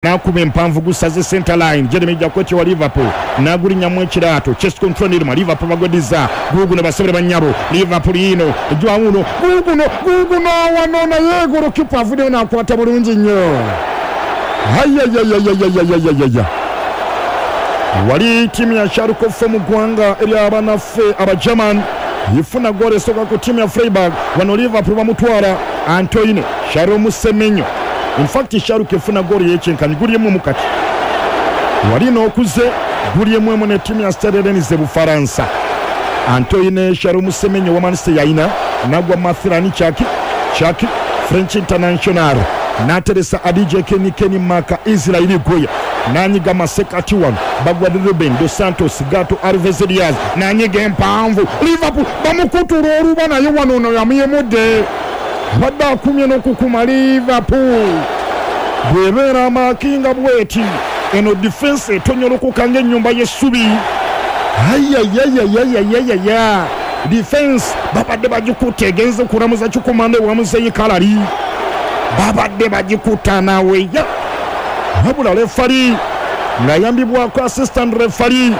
N'akuba empanvu gusaze center line. Jeremy Jacquet wa Liverpool n'agulinnyamu ekiraato. Chest control Nirma Liverpool bagwedizza. Guuguno basebere bannyabo. Liverpool yiino ejja wuuno. Guuguno guuguno wano naye golokipa avuddeyo n'akwata bulungi nnyo. Ayayayayayayayayaya. Wali ttiimu ya Schalke 04 mu ggwanga erya banaffe Abagerman efuna ggoolo esooka ku ttiimu ya Freiburg. Wano Liverpool bamutwala Antoine Shalom Semenyo. In fact Schalke efuna ggoolo ey'ekyenkanyi guli emu emu kati. Wali n'okuze guli emu emu ne ttiimu ya Stade Rennes e Bufaransa. Antoine Shalom Semenyo wa Manchester yalina nagwa Mathilani Chaki Chaki French International n'ateresa Adije Keni Keni Maka Israel Goya n'anyiga masekati wano bagwa Ruben dos Santos Gato Alves Diaz n'anyiga empanvu Liverpool bamukutula oluba naye wano ono yamuyemudde abadde akumye n'okukuma Liverpool bw'ebeera amaakinga bweti eno difensi etonyolokoka ng'ennyumba y'essubi ayayayayayayayaya difensi babadde bagikutte egenze kulamuza kikomando ewa muzeeyi Kalali babadde bagikutta naweya wabula refari ng'ayambibwako assistant refari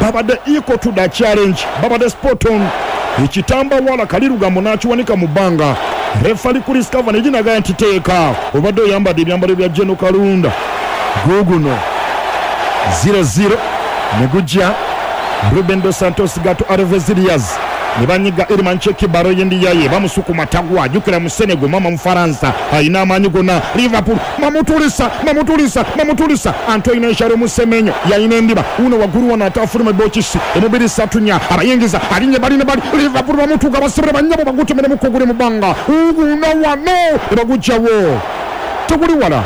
babadde equal to the challenge babadde spot on ekitamba wala kalirugambo n'akiwanika mu bbanga refari Chris Kavanagh nagaya nti teeka obadde oyambadde ebyambalo bya General Kalunda guguno 0-0 ne gujja Ruben dos Santos Gato Alves Diaz ne banyiga Iliman Cheki Baro yendiyaye bamusukuma tagwa jjukira mu Senegal mama Mufaransa alina amaanyi gonna Liverpool mamutulisa mamutulisa mamutulisa Antoine Shalom Semenyo yalina endiba uno waggulu wano ate afuluma ebokisi emubiri ssatu nnya abayingiza alinye bali ne bali Liverpool bamutuuka basibire bannyabo bagutemere mu kuguli mu bbanga uguno wano ne bagujjawo teguli wala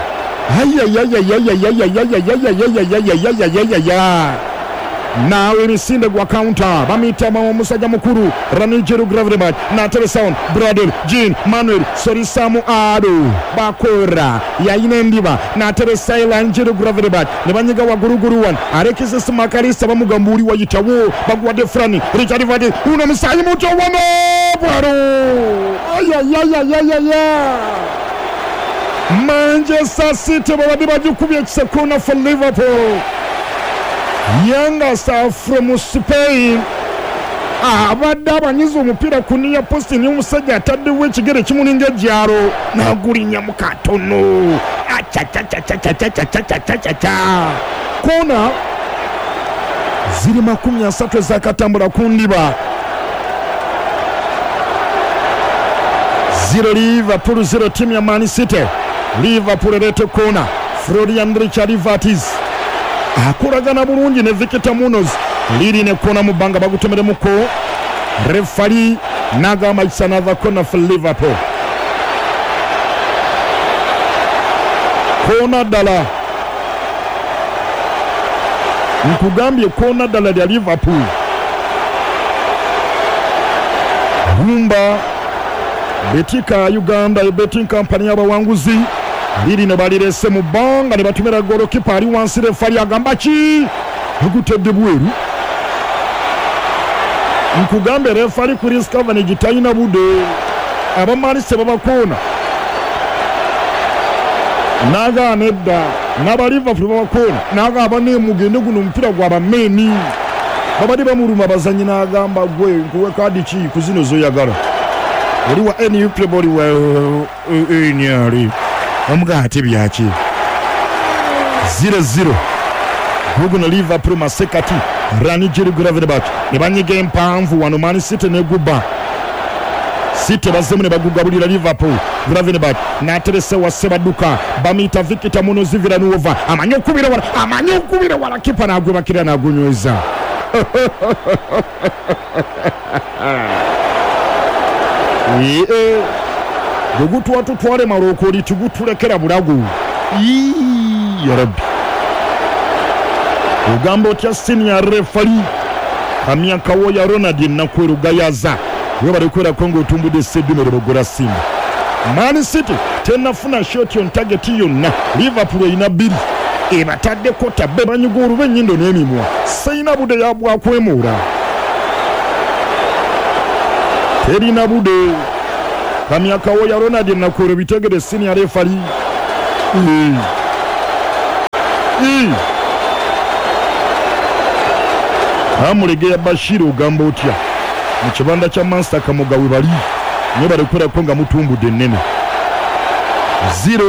ayayayayayayayayayayayayayayayayayaya naawe emisinde gwa counter bamuyita omusajja mukulu Ranijeru Gravenberch n'ateresa Bradel Jean Manuel Sorisamu Ado Bakora yayina endiba n'ateresa Ranijeru Gravenberch ne banyiga waggulugulu wano Alexis Makalisa bamugamba oli wayitawo baguwadde Frani Richard Vadi uno musaayi muto wano bwalo ayayayayayaya Manchester City babadde bagikubye ekisekona for Liverpool. Youngster from Spain abadde abanyiza omupiira ku near post naye omusajja ataddewo ekigere kimulinga ejjalo n'agulinnya mu katono acacacacacacacacacacacaca koona ziri 30 ezakatambula ku ndiba 0 Liverpool 0 ttiimu ya Man City. Liverpool ereeta koona Florian Richard Wirtz akolagana bulungi ne Victor Munoz liri ne kona mu bbanga bagutemeremuko refari n'agamba it's another corner for Liverpool. Koona ddala nkugambye koona ddala lya Liverpool. Gumba Betika Uganda betting company y'abawanguzi liri ne balirese mu bbanga ne batumira golokipa ali wansi refari agamba ki agutedde bweru. Nkugambe refari Chris Kavanagh talina budde abamalise babakoona nagaana edda n'aba Liverpool babakoona n'agamba ne mugende guno omupiira gw'abameeni babadde bamuluma abazanyi n'agamba gwe nkuwe kaadi ki ku zino z'oyagala oli wa NUP oli wa NRA omugaa ate byaki 0-0 guguno Liverpool masekati Ranijeru Gravenberch ne banyiga empanvu wano Man City neguba City bazzemu ne bagugabulira Liverpool. Gravenberch n'aterese wa Ssebadduka bamuyita Victor Munoz Villanueva amanyi okubira wala amanyi okubira wala kipa n'agwebakira n'agunyweza bwe tutwale malokoli tugutulekera bulago ya Rabbi ogamba otya senior referee Kamyakawo ya Ronald Nakwero Gayaza webale kwerako ng'otumbudde Ssedumero Bogora Simba. Man City tennafuna shot on target yonna. Liverpool erina bbiri ebataddeko tabbe banyiga oluba ennyindo n'emimwa seyina budde yabwakwemuula terina budde. Kamyakawo ya Ronald Nakwero bitegere senior referee. Ii. Amulegeya Bashir ogamba otya mu kibanda kya Mansa Kamoga we bali nyo balikuberako nga mutumbudde ennene 0-0.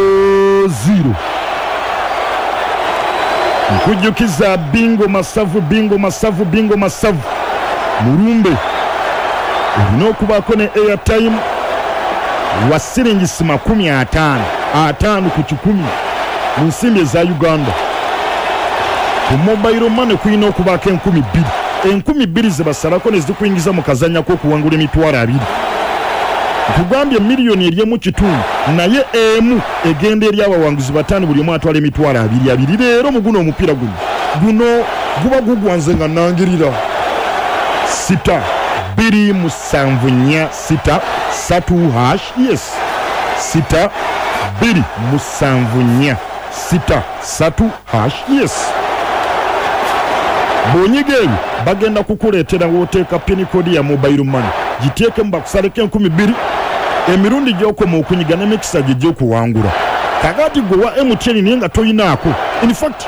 Nkujjukiza bingo masavu, bingo masavu, bingo masavu mulumbe olina okubaako ne airtime wa siringisi 50 5 ku 100 mu nsimbi eza Uganda. Ku mobile money kulina okubaako 2,000 2,000 ze basalako ne zikuyingiza mu kazannya k'okuwangula 20,000. Nkugambye miliyoni eri 1.5 naye emu egenda eri abawanguzi 5 buli omu atwala 20,000 leero mu guno omupiira guno guba gugwanze nga nangirira 6 2 7 4 6 3 hash yes 6 2 7 4 6 3 hash yes. Bw'onyiga ebyo bagenda kukuleetera w'oteeka pin code ya mobile money, giteekemu bakusaleko 2,000 emirundi gy'okoma okunyiga n'emikisa gye gy'okuwangula. Kakati gwe wa MTN naye nga tolinaako, in fact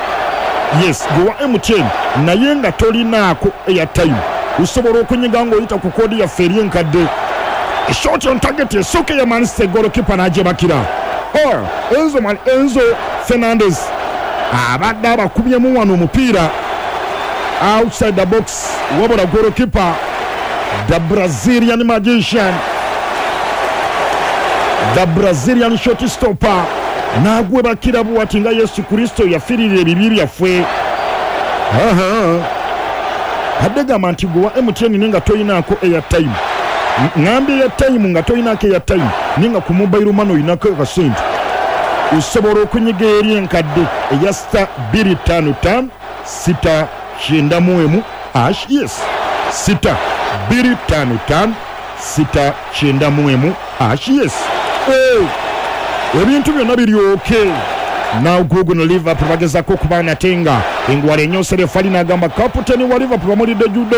yes gwe wa MTN naye nga tolinaako airtime osobola okunyiga ng'oyita ku koodi yaffe eri enkadde. Shot on target esooka ya Manchester, goalkeeper n'agyebakira. Enzo Fernandez abadde abakubyemu wano omupiira outside the box, wabula goalkeeper the Brazilian magician, the Brazilian shot stopper n'agwebakira bwati nga Yesu Kristo yafiirira ebibi byaffe. Adde gamba nti gwe wa MTN naye nga tolinaako airtime, ŋŋambye airtime nga tolinaako airtime naye nga ku mobile money olinako akasente, osobola okunyiga eri enkadde eya star 2 5 5 6 9 hash yes 6 2 5 5 6 9 hash yes. Ebintu byonna biri okay. Now Google no Liverpool bagezaako okuba natenga engwala enyose refali n'agamba kaputeni wa Liverpool bamulidde judo.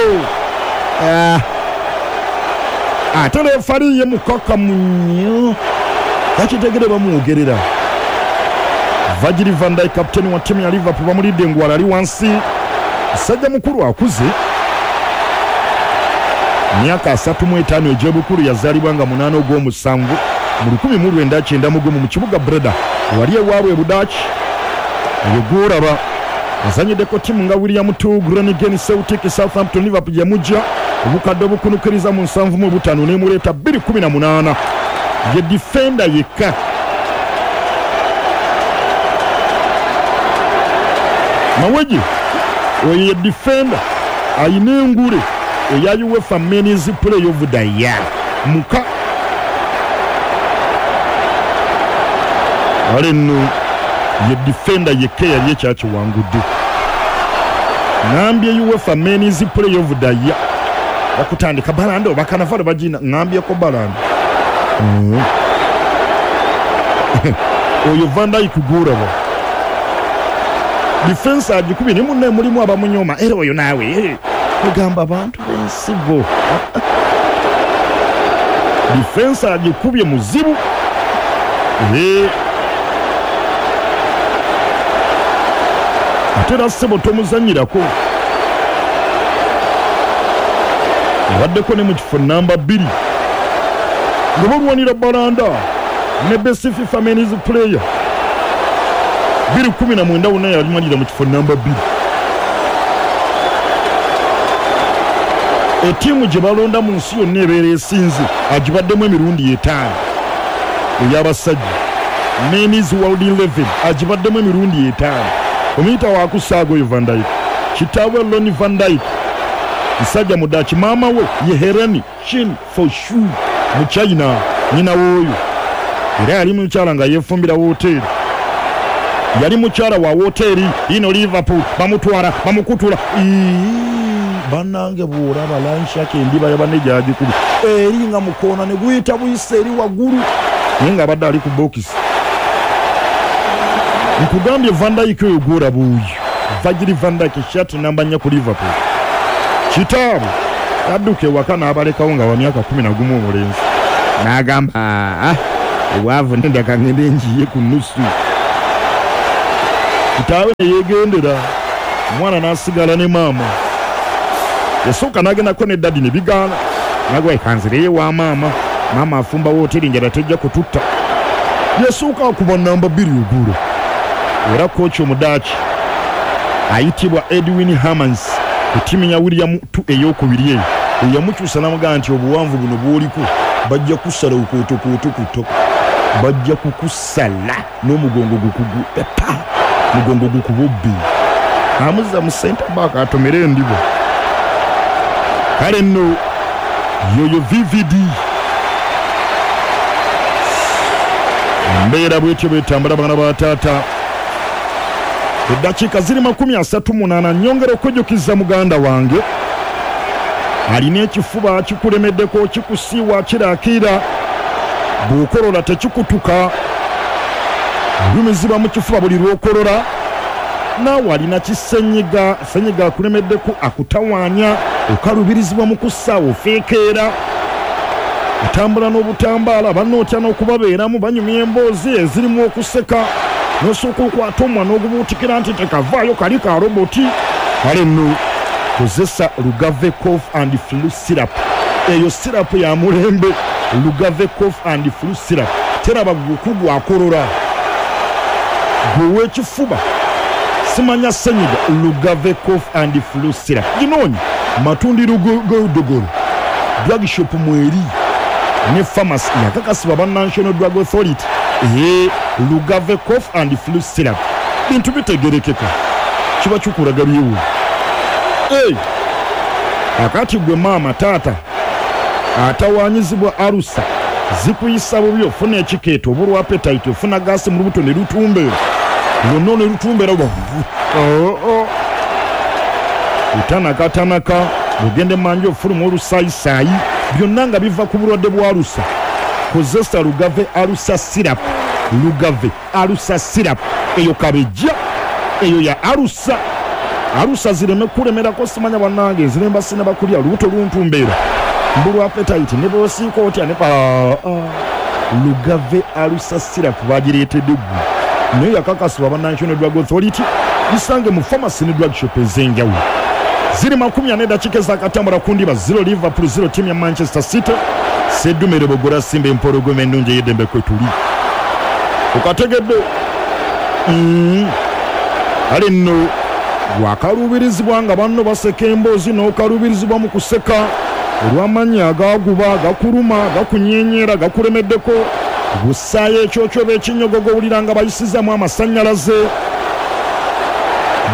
Ate refali ye mukakamu nnyo bakitegere bamwogerera. Virgil van Dijk kaputeni wa ttiimu ya Liverpool bamulidde engwala ali wansi. Musajja mukulu akuze, myaka 35 egy'obukulu, yazaalibwa nga 8 ogw'omusanvu mu 1991 mu kibuga Breda wali ewaabwe e Budaaki. Eyo gw'olaba azanyiddeko ttiimu nga William II, Groningen, Celtic, Southampton, Liverpool yamujja obukadde obukunukiriza mu 75 n'emuleeta 218. Ye defender yekka Mawegi oyo ye defender ayina engule eya UEFA Men's Player of the Year muka ale nno ye defender yekka yali ekyakiwangudde. Ŋŋambye UEFA Men's Player of the Year bakutandika Balando bakanavalo bagina, ŋŋambyeko Balando oyo Van Dijk gw'olaba defense agikubye ne munne mulimu abamunyoma era oyo naawe ogamba abantu b'ensibo. Defense agikubye muzibu. Ate era ssebo tomuzannyirako, abaddeko ne mu kifo namba 2 nga balwanira Balanda ne best FIFA Men's Player 2019 wonna yalimalira mu kifo namba 2. Ettiimu gye balonda mu nsi yonna ebeera esinze agibaddemu emirundi 5 ey'abasajja. Men's World 11 agibaddemu emirundi 5. Omuyita wakusaaga oyo Van Dijk, kitaawe Lonnie Van Dijk musajja Mudaaki, maama we ye Herani Chin Foshu mu China, nnyina w'oyo era yali mukyala nga yeefumbira wooteeri, yali mukyala wa wooteeri ino. Liverpool bamutwala bamukutula. Bannange bw'olaba lanshaka endiba ya banne gyagikuba eri nga mukoona ne guyita buyisa eri waggulu naye ng'abadde ali ku bokisi. Nkugambye Van Dijk oyo gw'olaba oyo Virgil van Dijk shati namba 4 ku Liverpool. Kitaabwe adduka ewaka n'abalekawo nga wa myaka 11 omulenzi n'agamba obwavu nendaka ngende njiye ku nusu. Kitaawe ne yeegendera, omwana n'asigala ne maama. Yasooka n'agendako ne daddy ne bigaana, n'agamba leka nzireyo ewa maama, maama afumba wooteeri njala tejja kututta. Yasooka akuba nnamba bbiri oggulo era kooki Omudaaki ayitibwa Edwin Hermans ku ttiimu ya William ii ey'okubiri eyo eyamukyusa n'amugamba nti obuwanvu buno bw'oliko bajja kukusala okootokooto ku ttaka, bajja kukusala n'omugongo gukugwe pa mugongo gukubobbe. Amuzza mu centre back atomere endibo. Kale nno yoyo VVD. Embeera bwetyo bwetambula baana ba taata. Eddakiika ziri 38. Nnyongera okujjukiza muganda wange alina ekifuba kikulemeddeko, kikusiiwa, kirakiira, bw'okolola tekikutuka, olumizibwa mu kifuba buli lw'okolola. Naawe alina kisenyiga, senyiga akulemeddeko, akutawaanya, okaluubirizibwa mu kussaawo, ofeekeera, otambula n'obutambaala, banno otya n'okubabeeramu, banyumya emboozi ezirimu okuseka, n'osooka okwata omumwa n'ogubuutikira nti tekavaayo kali ka roboti. Kale nno kozesa Lugave Cough and Flu Syrup. Eyo syrup ya mulembe, Lugave Cough and Flu Syrup. Teraba gwe akolora, gwe ow'ekifuba, simanya senyiga, Lugave Cough and Flu Syrup. Ginoonye matundiro g'odogolo, drug shop mweri ne pharmacy yakakasibwa ba National Drug Authority. Ee, Lugave Cough and Flu Syrup. Bintu bitegerekeka, kiba kikulaga byewuunyo. Ee, akati gwe maama taata atawaanyizibwa alusa zikuyisa bubi, ofuna ekikeeto, obulwa appetite, ofuna gaasi mu lubuto ne lutumbeera lwonna ne lutumbeera otanakatanaka, ogenda emanju ofuluma olusayisaayi, byonna nga biva ku bulwadde bwa alusa. Kozesa Lugave Alusa Syrup. Lugave Alusa Syrup eyo kabejja, eyo ya alusa. Alusa zireme kulemerako, simanya bannange nziremba sinaba kulya, lubuto luntumbeera, mbulwa appetite, ne bw'osiika otya ne Lugave Alusa Syrup bagireetedde ggwe, naye yakakasibwa aba National Drug Authority. Gisange mu pharmacy ne drug shop ez'enjawulo. Ziri 40 eddakiika ezakatambula ku ndiba, 0 Liverpool 0 ttiimu ya Manchester City. Seddumere Bogora Simba empologoma ennungi ey'eddembe kwe tuli. Okategedde? Kale nno wakaluubirizibwa nga banno baseka emboozi n'okaluubirizibwa mu kuseka olw'amannya agaaguba, gakuluma, gakunyenyeera, gakulemeddeko. Bussaayo ekyokyoba ekinyogoga owulira nga bayisizaamu amasannyalaze.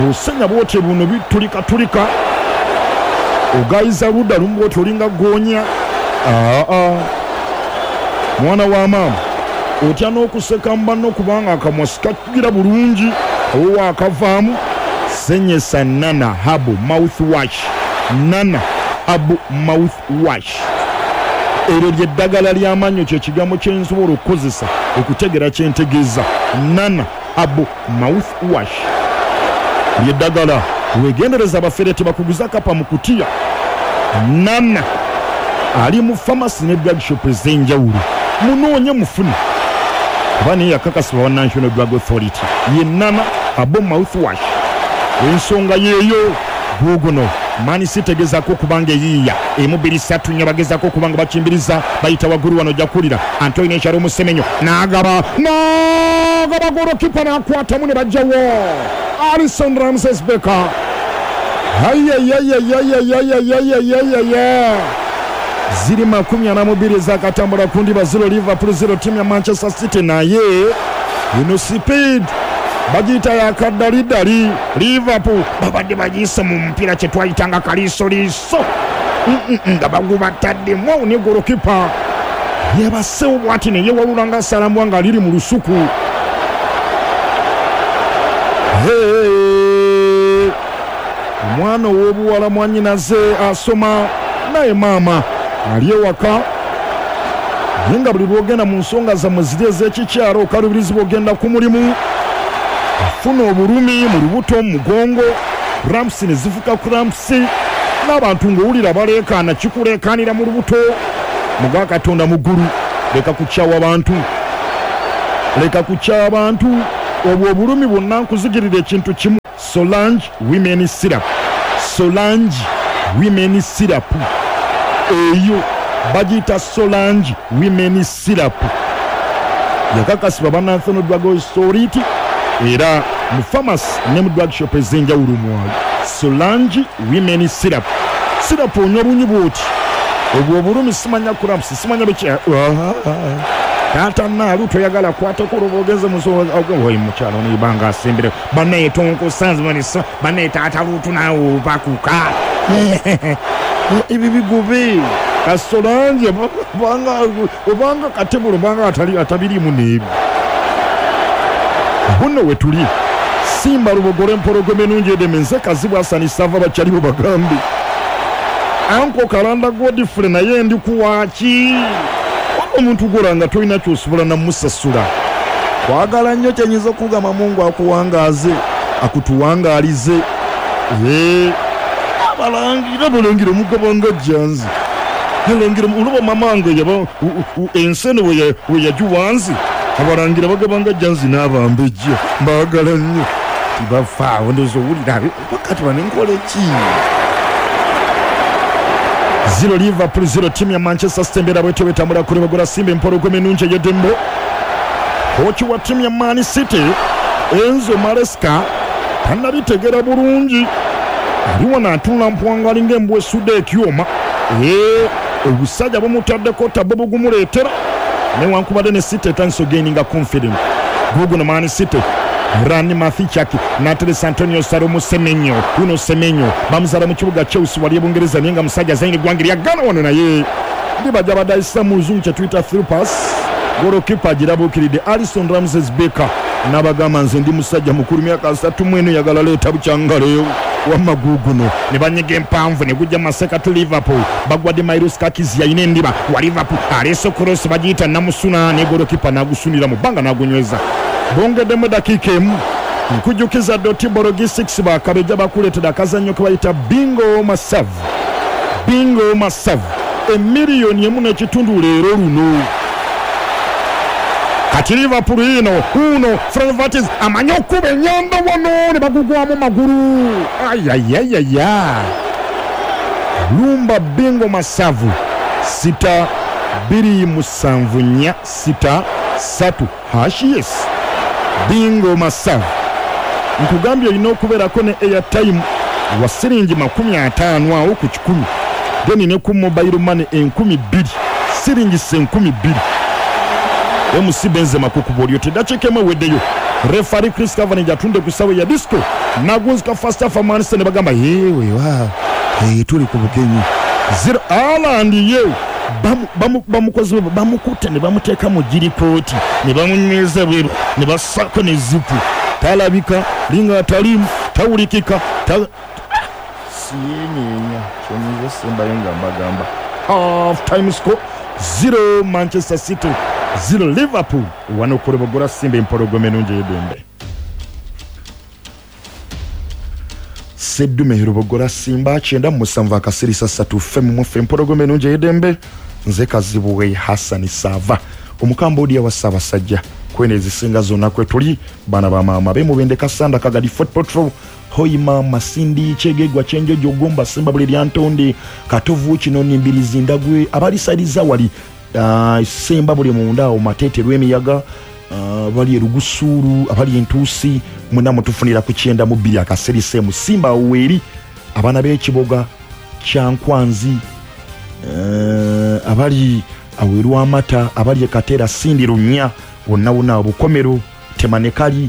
Bw'osenya bw'otyo buno bitulikatulika, ogayiza ludda lumu bw'otyo olinga ggoonya. Aa, mwana wa maama otya n'okuseka mu banno kubanga akamwa sikagira bulungi, owo akavaamu. Senyesa Nana Herbal Mouthwash. Nana Herbal Mouthwash, eryo ly'eddagala ly'amannyo, kye kigambo kye nsobola okukozesa okutegeera kye ntegeeza. Nana Herbal Mouthwash ly'eddagala. Weegendereze abafere tebakuguza kapa mu kutiya. Nana ali mu pharmacy ne drug shop ez'enjawulo, munoonye mufune kuba naye yakakasibwa wa National Drug Authority. Ye Nana Herbal Mouthwash, ensonga yeeyo. Guuguno Man City egezaako okuba nga eyiiya emu bbiri ssatu nnya, bagezaako okuba nga bakimbiriza, bayita waggulu wano, ojja kuwulira Antoine Ekyalo Omusemenyo n'agaba n'agaba, golokipa n'akwatamu ne bajjawo Alisson Ramses Becker. Ayayayayayayayayayayaya, ziri 42 ezakatambula ku ndiba, 0 Liverpool 0 ttiimu ya Manchester City. Naye eno speed bagiyita yakaddaliddali. Liverpool babadde bagiyise mu mupiira kye twayitanga kaliisoliiso nga bagubataddemu awo, ne golokipa yebasewo bwati ne yewalula nga asalambwa nga liri mu lusuku. Hey! Omwana ow'obuwala mwannyinaze asoma, naye maama ali ewaka, naye nga buli lw'ogenda mu nsonga zammwe ziri ez'ekikyalo okaluubirizibwa, ogenda ku mulimu ofuna obulumi mu lubuto, mu mugongo, cramps ne zifuka cramps, n'abantu ng'owulira baleekaana, kikuleekaanira mu lubuto. Muga Katonda mu ggulu, leka kukyawa bantu, leka kukyawa bantu. Obwo obulumi bwonna nkuzigirira ekintu kimu, Solange Women Syrup. Solange Women Syrup eyo bagiyita Solange Women Syrup, yakakasibwa ba National Drug Authority era mu pharmacy ne mu drug shop ez'enjawulo mwali. Solange Women Syrup, syrup onywa bunywi bwoti, obwo obulumi simanya cramps simanya biki. Taata naalu toyagala kwatako olwoba ogenze musoyi mukyalo nibanga asembere banaye tonkosanzimanisa banaye taata luutu naawe obakuka ebyo bigobe. Kasolange obanga katebulo obanga atabirimu n'ebyo. Buno we tuli Simba Lubogolo empologoma ennungi edeme. Nze Kazibu Hasani Sava bakyalibo bagambe anko Kalanda Godfrey naye ndi kuwaaki waba omuntu gwola nga tolina kyosobola namusasula. Kwagala nnyo kyenyinza okugamba, Mungu akuwangaaze akutuwangaalize. Abalangira balangira omugabanga jjanzi alangira olaba mamange yaba ensene we yagiwanze abalangira bagabanga jjanzi n'abambejja mbaagala nnyo tibafaawo ndowooza owulira wakati bano nkola ki. 0 Liverpool 0 timu ya Manchester City embeera bwetyo bwetambula kuli bagula Simba empologoma ennungi ey'eddembe. Kooki wa ttiimu ya Man City Enzo Maresca tannabitegera bulungi, ali wano atunula mpwanga alinga embwa esudde ekyuma. Obusajja bumutaddeko tabo bugumuleetera newankubadde ne City etandise ogaininga confident. Guguno Man City Rani Mathichaki n'ateresa Antonio Salomo Semenyo. Uno Semenyo bamuzaala mu kibuga Chelsea wali e Bungereza naye nga musajja azanyira eggwanga erya Ghana wano, naye ndibajja badayisa mu luzungu kye tuyita through pass. Golokipa agirabuukiridde Alisson Ramses Becker n'abagamba nze ndi musajja mukulu myaka 34 yagala leeta bukyangaleyo wamma guguno ne banyiga empanvu ne gujja masekatu Liverpool bagwadde Milos Kakis yalina endiba wa Liverpool aleese cross bagiyita Namusuna ne golokipa n'agusunira mu bbanga n'agunyweza. Bongeddemu eddakiika emu. Nkujjukiza Doti Logistics bakabejja bakuleetera akazannyo ke bayita Bingo Masavu. Bingo Masavu emiliyoni emu n'ekitundu leero luno. Kati Liverpool ino uno Florian Wirtz amanyi okuba ennyanda wano ne bagugwamu magulu. Ayayayaya, lumba Bingo Masavu 6 2 7 4 6 3 hash. Yes, Bingo Masavu nkugambye olina okubeerako ne airtime wa siringi 50 awo ku 100, then ne ku mobile money 2000 siringi 2000. MC Benzema kukuba olyo teddakiika emu eweddeyo. Referee Chris Kavanagh atunde ku ssaawa ya disco nagunzika first half Man City ne bagamba yewe wa tuli ku bugenyi. Zero Haaland ye bamukozi bamukutte ne bamuteeka mu girikooti ne bamunyweza bweru ne bassako ne zipu, talabika linga atalimu tawulikika siyenyenya kyenyinza sembayo nga mbagamba. Half time score 0 Manchester City 0 Liverpool. Wano kulebogora Simba empologoma ennungi ey'eddembe. Seddume Rubogora Simba 97 akasirisa 3 ffe mumuffe empologoma ennungi ey'eddembe. Nze Kazibwe Hasani Sava omukambodiya wa Ssaabasajja kwene ezisinga zonna kwe tuli baana ba maama b'emubende Kasanda Kagadi Fort Portal Hoima Masindi Kyegegwa Kyenjojo Gomba Simba buli lyantonde Katovu Kinoni Mbirizi Ndagwe abalisaliza wali Semba buli munda awo Matete Lwemiyaga abali Erugusuulu abali Entuusi mwena mutufunira ku 92 akaserise mu Simba Oweri abaana b'ekiboga Kyankwanzi abali awerwamata abali Ekatera Sindi Lunya wonna wonna Obukomero Temanekali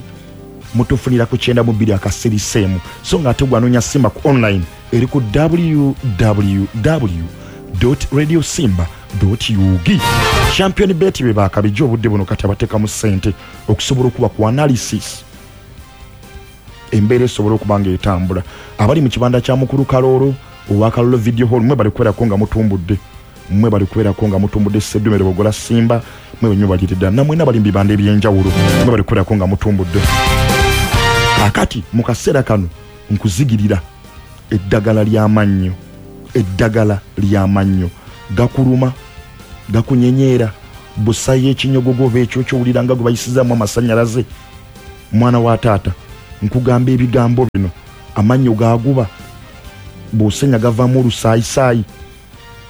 mutufunira ku 92 akaserisemu. So nga ate gwanoonya Simba ku online eri ku www.radiosimba.ug. Champion Bet be bakabijja obudde buno kati abateekamu ssente okusobola okuba ku analysis embeera esobola okuba nga etambula. Abali mu kibanda kya mukulu Kaloolo owa Kaloolo Video Hall mwe bali kubeerako nga mutumbudde, mwe bali kubeerako nga mutumbudde Seddume Lubogora Simba mwe benyo balire ddala namwena bali mu bibanda eby'enjawulo mwe bali kubeerako nga mutumbudde. Kakati mu kaseera kano nkuzigirira eddagala ly'amannyo, eddagala ly'amannyo gakuluma gakunyenyeera busayo ekinyogogo oba ekyo kyowulira nga gwe bayisizaamu amasannyalaze. Mwana wa taata, nkugamba ebigambo bino, amannyo gaguba, bw'osenya gavaamu olusaayisaayi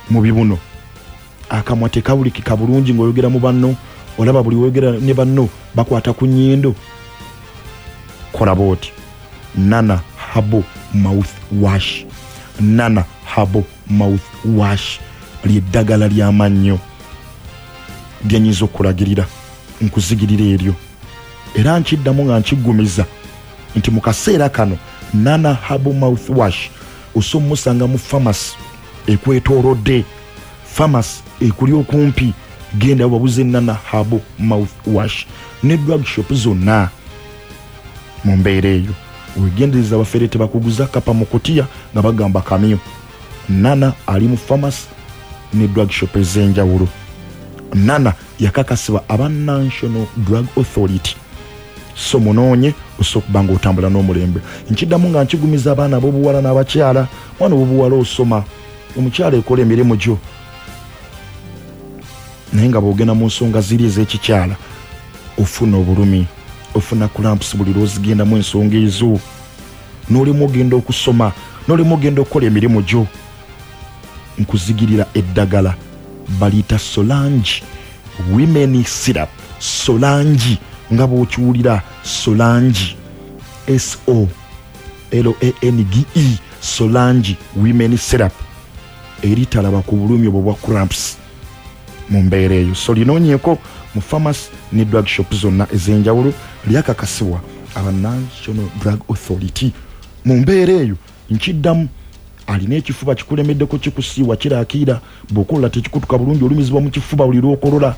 mu bibuno, akamwa tekawulikika bulungi ng'oyogera mu banno, olaba buli woyogera ne banno bakwata ku nnyindo. Kola bw'oti, Nana Herbal Mouth Wash. Nana Herbal Mouth Wash lyeddagala ly'amannyo lyenyinza okulagirira, nkuzigirira eryo. Era nkiddamu nga nkiggumiza nti mu kaseera kano Nana Herbal Mouth Wash osobola omusanga mu famasi ekwetoolodde, famasi ekuli okumpi, genda wabuze Nana Herbal Mouth Wash ne drug shop zonna. Mu mbeera eyo wegendereza abafere tebakuguza kapa mu kutiya nga bagamba kamyu. Nana ali mu famasi ne drug shop ez'enjawulo. Nana yakakasibwa aba National Drug Authority, so munoonye osobola okuba nga otambula n'omulembe. Nkiddamu nga nkigumiza abaana ab'obuwala n'abakyala. Mwana ow'obuwala osoma, omukyala ekola emirimu gyo, naye nga bw'ogenda mu nsonga ziri ez'ekikyala ofuna obulumi, ofuna cramps buli lw'ozigendamu ensonga ezo, n'olimu ogenda okusoma, n'olimu ogenda okukola emirimu gyo. Nkuzigirira eddagala baliyita Solange Women Syrup. Solange nga bw'okiwulira, Solange, S O L A N G E, Solange Women Syrup eritalaba ku bulumi obwo bwa cramps mu mbeera eyo. So linoonyeeko mu pharmacy ne drug shop zonna ez'enjawulo, lyakakasibwa aba National Drug Authority. Mu mbeera eyo nkiddamu, alina ekifuba kikulemeddeko, kikusiiwa, kirakiira, bw'okolola tekikutuka bulungi, olumizibwa mu kifuba buli lw'okolola,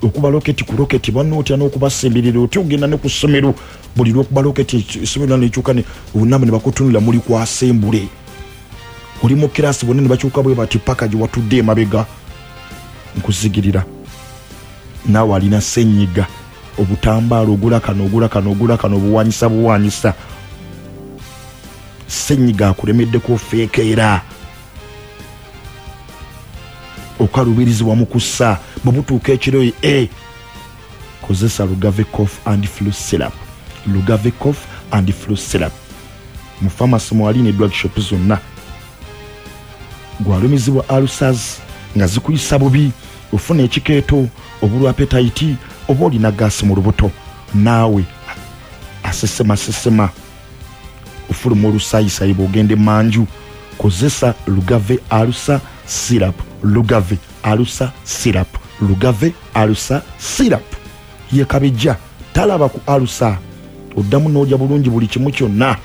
okuba loketi ku loketi, banno otya n'okubasemberera, otya ogenda ne ku ssomero, buli lwokuba loketi essomero nekyuka namba ne bakutunula, muli kwasembule, oli mu kirasi bonna ne bakyuka bwe bati paka gye watudde emabega. Nkuzigirira naawe alina senyiga, obutambaala ogula kano, ogula kano, ogula kano, obuwanyisa buwanyisa, senyiga akulemeddeko, ofeekeera, okalubirizibwa mu kussa, bwe butuuka ekiro e kozesa Lugave Cough and Flu Syrup. Lugave Cough and Flu Syrup mu famasi mwali ne drug shop zonna. Gwalumizibwa ulcers nga zikuyisa bubi, ofuna ekikeeto, obulwa appetite, oba olina gaasi mu lubuto, naawe asesemasesema, ofuluma olusayisayi bw'ogenda emanju, kozesa Lugave Ulcer Syrup. Lugave Ulcer Syrup, Lugave Ulcer Syrup ye kabijja talaba ku ulcer, oddamu n'olya bulungi buli kimu kyonna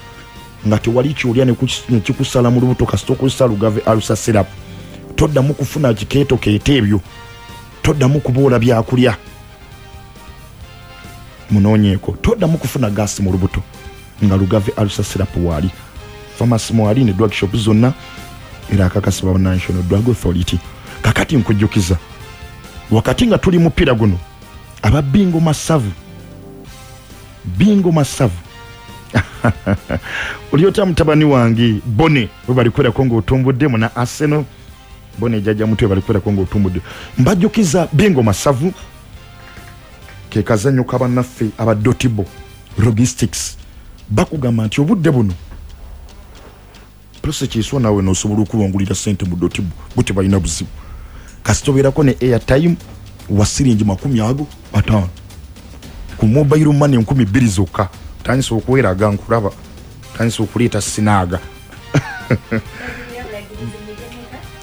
nga tewali kyolya nekikusala mu lubuto. Kasita okozesa Lugave Ulcer Syrup, toddamu kufuna kikeeto keeto ebyo, toddamu kuboola byakulya. Munoonyeeko, toddamu kufuna gaasi mu lubuto nga Lugave Ulcer Syrup waali, famasi mwali ne drug shop zonna, era akakasibwa National Drug Authority. Kakati nkujjukiza, wakati nga tuli mupiira guno, aba Bingo Masavu, Bingo Masavu, oli otya mutabani wange Bone, we balikwerako ng'otumbudde muna Arsenal. Bone jjajja mutwe, balikwerako ng'otumbudde. Mbajjukiza Bingo Masavu ke kazannyo kabannaffe aba Dotibo Logistics. Bakugamba nti obudde buno prosekyeswa naawe nosobola okuwangulira sente mu Dotibo, bo tebalina buzibu kasita obeerako ne airtime wa siringi 50 ku mobile money 2000 zokka. Tandisa okweraga, nkulaba tandisa okuleeta sinaaga.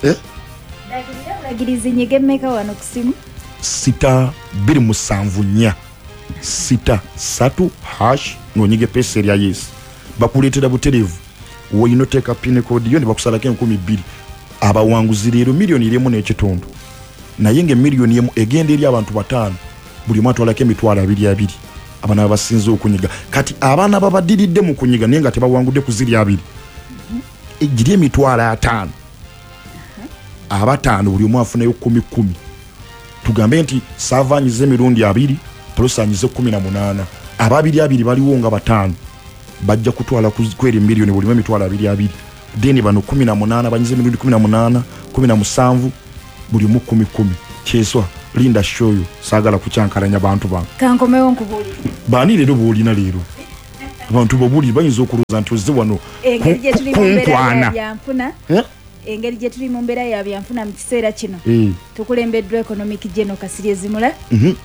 Eh? Bulagirizi nyiga emmeka wano ku simu? *274 *3# ng'onyiga epeesa erya yes, bakuleetera butereevu woyina oteeka pin code yo ne bakusalako 2000. Abawanguzi leero 1.5 million, naye nga 1 million egenda eri abantu bataano, buli omu atwalako 20,000. Abaana babasinze okunyiga, kati abaana babadiridde mu kunyiga naye nga tebawangudde ku ziri abiri, giri 50,000, abataano buli omu afunayo kumi kumi. Tugambe nti saava anyize emirundi abiri, plus anyize 18, ababiri abiri baliwo nga bataano, bajja kutwala kweri miliyoni bulimu 20,000. Then bano 18 banyize emirundi 18, 17, buli omu kumi kumi. Kyeswa, linda shoyo, saagala kukyankalanya bantu bange. Kankomewo nkubuulire. Baani leero bw'olina leero? Abantu bobuli bayinza okulowooza nti ozze wano Engeri gye tuli mu mbeera ya kunkwana. byanfuna, Eh? engeri gye tuli mu mbeera ya byanfuna mu kiseera kino, Eh. tukulembeddwa Economic General Kasirye Zimula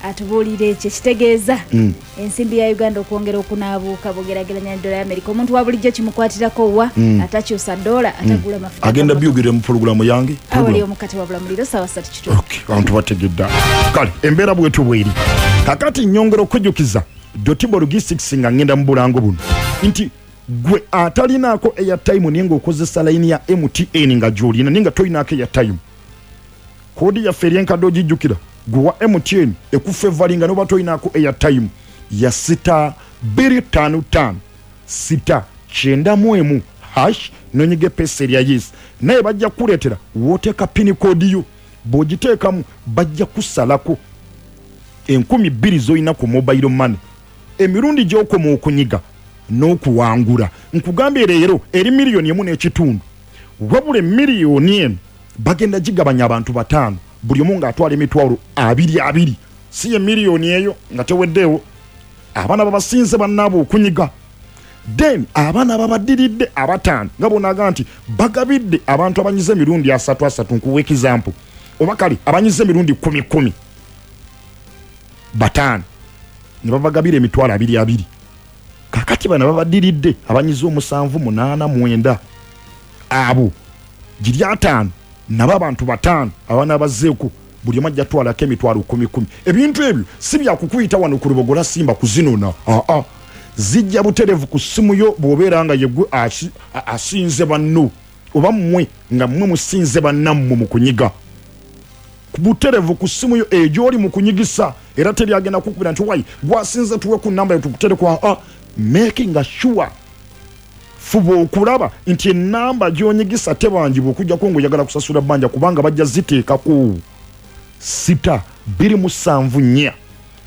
atubuulira ekyo ekitegeeza ensimbi ya Uganda okwongera okunaabuuka bw'ogeraageranya ne dola ya Amerika. Omuntu wa bulijjo kimukwatirako wa atakyusa dola, atagula mafuta Agenda g'ammotoka. byogerera mu pulogulaamu yange. Awali omukate wabula muliro saawa 3:15. Okay, abantu bategedda. Kale embeera bwetu bweri. Kakati nyongera okujjukiza Dotibo Logistics nga ngenda mu bulango buno nti gwe atalinaako airtime naye ng'okozesa layini ya MTN nga gy'olina naye nga tolinaako airtime, koodi yaffe eri enkadde ogijjukira, gwe wa MTN ekufevalinga noba tolinaako airtime ya *255 *91 hash, nonyiga epesa erya yes, naye bajja kukuleetera wooteeka pini koodi yo. Bw'ogiteekamu bajja kusalako 2000 z'olina ku mobile money emirundi gy'okoma okunyiga n'okuwangula. Nkugambye leero eri 1.5 miliyoni, wabula emiliyoni eno bagenda gigabanya abantu 5, buli omu ng'atwala 20,000. Si ye miliyoni eyo nga teweddeewo, abaana babasinze bannaabwe okunyiga, then abaana babaddiridde 5 nga bonaga nti bagabidde abantu abanyize emirundi 3 3, nkuwa example, oba kale abanyize emirundi 10 10 5 ne babagabira 20,000. Kakati bano babaddiridde abanyize 7 8 9, abo giri 5, nabo abantu 5 abaana bazzeeko, buli omu ajja twalako 10,000. Ebintu ebyo si byakukuyita wano ku Lubogola Simba kuzinona, aa, zijja buterevu ku ssimu yo bw'obeera nga yegwe asinze banno, oba mmwe nga mmwe musinze bannammwe mu kunyiga, buterevu ku ssimu yo egy'oli mu kunyigisa. Era teri agenda kukubira nti wayi gwasinze tuwe ku namba yo tukuterekwa. A making sure, fuba okulaba nti enamba gy'onyigisa tebanjibwa okujjako ng'oyagala kusasula bbanja, kubanga bajja ziteekako. *274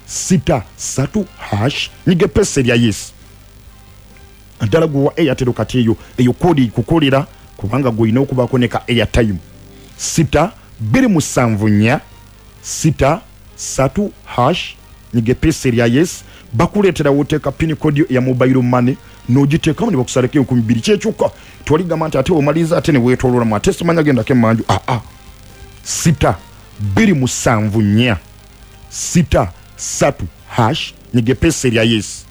*63 hash, nyiga epesa erya yes. Ddala gwe wa Airtel, kati eyo koodi kukolera kubanga gw'olina okubaako ne ka airtime. *274 *63 hash, nyiga epesa erya yes, bakuleetera woteeka pin code ya mobile money n'ogiteekamu ne bakusalako 2000. Kyekyokka twaligamba nti ate omaliriza ate ne weetooloolamu ate simanya gendako emmanju. Aa, *274 *63 hash, nyiga epesa erya yes.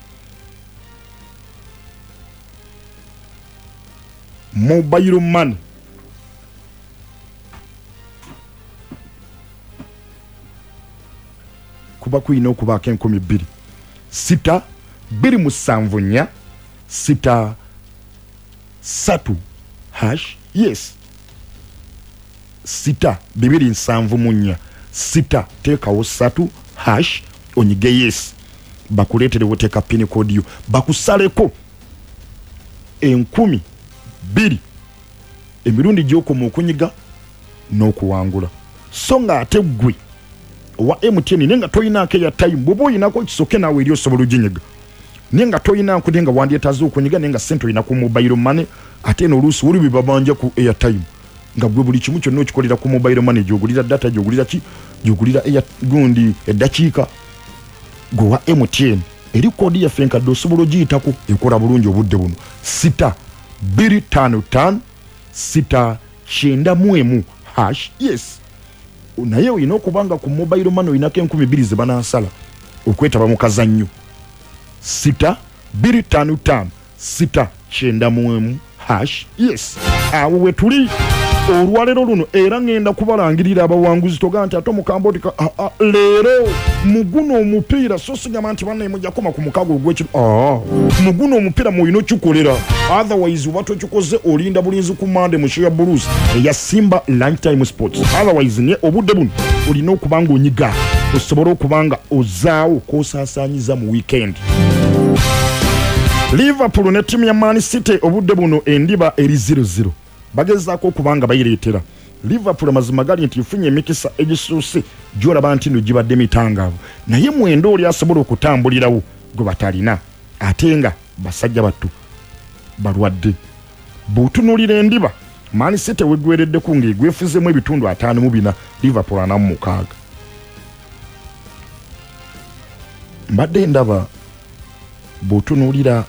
Mobile money kuba kuyina okubaako 2000. *274 *63 hash yes. *274 6 teekawo 3 hash, onyige yes, bakuleetere woteeka pin code yo, bakusaleko 2000 emirundi gy'okoma okunyiga n'okuwangula. So nga ate ggwe owa MTN naye nga toyinaako airtime, bw'oba oyinako kisoke naawe eri osobola oginyiga, naye nga toyinaako naye nga wandyetaaze okunyiga naye nga sente olina ku mobile money, ate eno oluusi wali bebabanja ku airtime nga gwe buli kimu kyonna okikolera ku mobile money, gy'ogulira data, gy'ogulira ki, gy'ogulira gundi eddakiika. Gwe wa MTN eri koodi yaffe enkadde osobola ogiyitako, ekola bulungi obudde buno. *255 *91 hash yes. Naye olina okuba nga ku mobile money olinako 2000 ze banaasala okwetaba mu kazannyo. *255 *91 hash yes. Awo we tuli olwaleero luno, era ngenda kubalangirira abawanguzi. Togaa nti ate omukamba oti leero muguno omupiira, so sigamba nti bannaye mujja koma ku mukago ogwekiro. Muguno omupiira mwolina okikolera, otherwise oba tokikoze olinda bulinzi ku Mande mu show ya Blues eya Simba Lunchtime Sports. Otherwise naye obudde buno olina okuba nga onyiga osobole okuba nga ozaawo kosaasaanyiza mu weekend. Liverpool ne ttiimu ya Man City obudde buno endiba eri 0-0, bagezaako okuba nga bayireetera Liverpool. Amazima gali nti efunye emikisa egisuuse gyolaba nti no gibadde mitangaavu, naye mwenda oli asobola okutambulirawo gwe batalina, ate nga basajja battu balwadde. Bw'otunuulira endiba, Man City weggwereddeku ng'egwefuzemu ebitundu 54, Liverpool 46. Mbadde ndaba Bw'otunuulira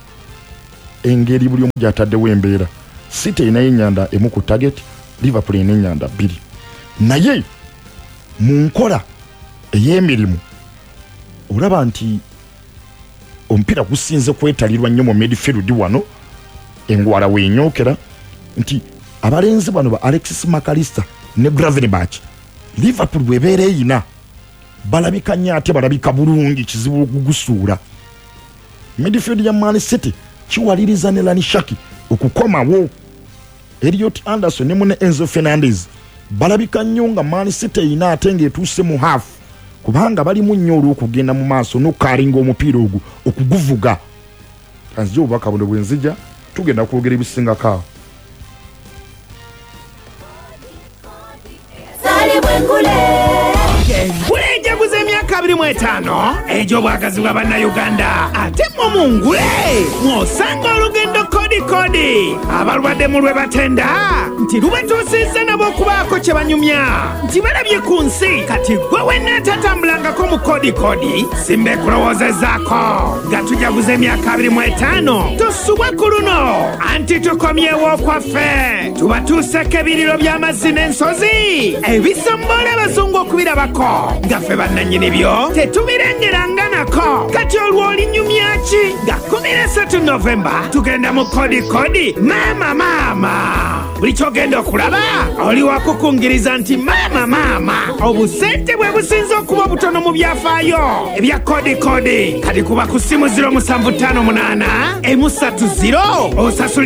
engeri buli omu gy'ataddewo embeera, City erinayo ennyanda emu ku target, Liverpool erina ennyanda bbiri, naye mu nkola ey'emirimu olaba nti omupiira gusinze kwetalirwa nnyo mu midfield. Wano engwala weenyookera nti abalenzi bano ba Alexis Mac Allister ne Gravenberch, Liverpool bwebeera eyina balabika nnyo ate balabika bulungi, kizibu okugusuula. Midfield ya Man City kiwaliriza ne Rayan Cherki okukomawo, Elliot Anderson ne mune Enzo Fernandez balabika nnyo nga Man City eyina ate ng'etuuse mu half, kubanga balimu nnyo olw'okugenda mu maaso n'okukalinga omupiira ogwo okuguvuga. Kanzija obubaka buno, bwe nzija tugenda kwogera ebisingako awo. Engule ejaguza emyaka 25 egy'obwagazi bwa Bannayuganda, ate mmwe mu ngule mw'osanga olugendo kodi kodi. Abalwadde mu lwe batenda nti lubatuusizza nabo okubaako kye banyumya nti balabye ku nsi. Kati gwe wenna atatambulangako mu kodi kodi, simba ekulowoozezzaako nga tujaguza emyaka 25. Tosubwa ku luno, anti tukomyewo okwaffe, tubatuuseko ebiriro by'amazzi n'ensozi ebisombola abazungu okubirabako nga ffe bannannyini byo tetubirengeranga nako. Kati olwo olinyumya ki? Nga 13 Novemba tugenda mu kodi kodi. Maama maama, buli kyogenda okulaba oli wakukungiriza nti maama maama, obusente bwe businze okuba obutono mu byafaayo ebya kodi kodi. Kati kuba ku simu 0758 130 osasulire.